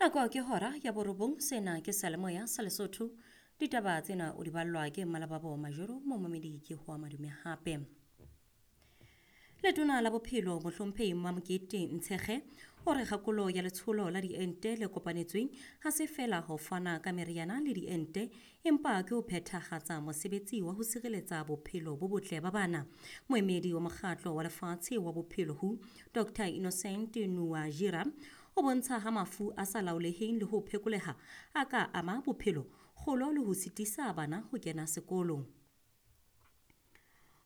Nako ke hora ya borobong, sena ke Seyalemoya sa Lesotho. Ditaba tsena o di ballwa ke Mmalababo Majoro, momamedi ke hoa madume hape. Letona la bophelo mohlomphehi Mamokete Ntshekge o re kgakolo ya letsholo la diente le kopanetsweng ha se fela ho fana ka meriana le diente, empa ke ho phethahatsa mosebetsi wa ho sireletsa bophelo bo botle ba bana. Moemedi wa mokgatlo wa lefatshe wa bophelo WHO, Dr. Innocent Nuwajira, o bontsha ha mafu a sa laoleheng le ho phekoleha a ka ama bophelo, kgolo le ho sitisa bana ho kena sekolo.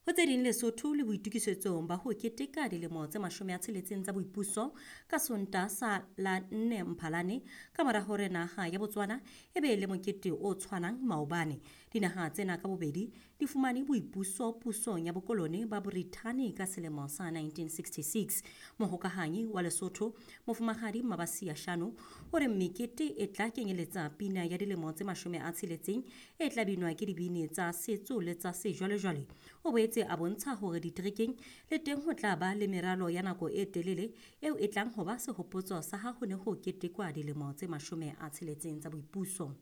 Ho tse ding, Lesotho le boitukisetsong ba ho keteka dilemo tse 60 tsa boipuso ka Sontaha sa la 4 Mphalane, ka mora hore naha ya Botswana e be le mokete o tshwanang maobane. Dinaha tsena ka bobedi di fumane boipuso pusong ya bokolone ba Brithani ka selemo sa 1966. Mohokahanyi wa Lesotho, Mofumahadi Mabasia Shano, o re mekete e tla kenyeletsa pina ya dilemo tse 60 e tla binwa ke dibini tsa setso le tsa sejwalejwale. O boetse a bontsha hore diterekeng le teng ho tla ba le meralo ya nako e telele eo e tlang ho ba sehopotso sa ha ho ne ho ketekwa dilemo tse 60 tsa boipuso.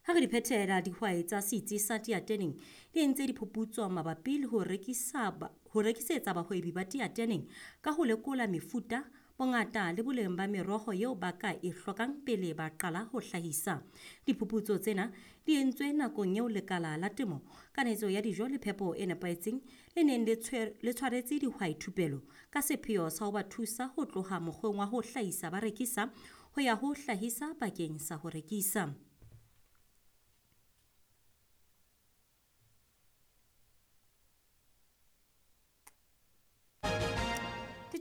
Ha re di phethela, dihwai tsa setsi sa Teateneng di entse diphuputso mabapi le ho rekisetsa bahwebi ba Teateneng ka ho lekola mefuta, bongata le boleng ba meroho eo ba ka e hlokang pele ba qala ho hlahisa. Diphuputso tsena di entswe nakong eo lekala la temo, kanetso ya dijo le phepo e nepahetseng le neng le tshwaretse dihwai thupelo ka sepheo sa ho ba thusa ho tloha mokgweng wa ho hlahisa ba rekisa ho ya ho hlahisa bakeng sa ho rekisa.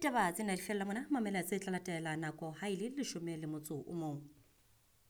Ditaba tsena di fella mona, mamela tse tla latela nako ha e le 11.